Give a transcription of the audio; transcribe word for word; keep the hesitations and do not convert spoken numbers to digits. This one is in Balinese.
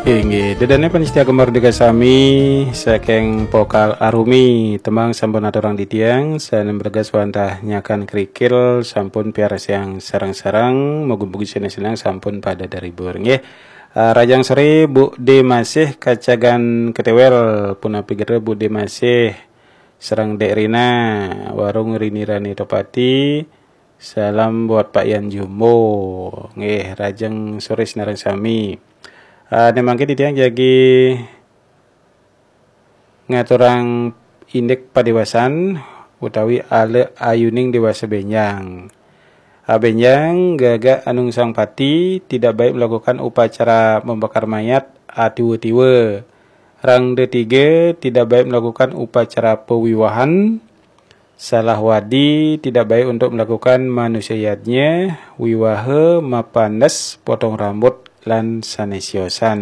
Inggih, ida dané pamiarsa Gema Merdeka sami, saking Pokal Arumi, tembang sampun aturang titiang, sané berges wantah nyakan kerikil sampun piarsayang sareng-sareng, mugi-mugi sané sineng sampun pada terhibur. Nggih. Eh, rahajeng soré Bu Démasih Kacagan Ketéwél, punapi gatra Bu Démasih, sareng Dék Rina, warung Rini Rani Topati, salam buat Pak Yan Jumbo. Nggih, rahajeng soré sinareng sami. Eh, né mangkin titiang jagi ngaturang indik padéwasan utawi ala ayuning déwasa bénjang. Ah, bénjang, gagak anungsang pati, tidak baik melakukan upacara membakar mayat, ah, tiwa-tiwa. Rangda tiga, tidak baik melakukan upacara pewiwahan. Salah wadi, tidak baik untuk melakukan manusia yadnya, wiwaha, mapandes, potong rambut, lan sané siosan.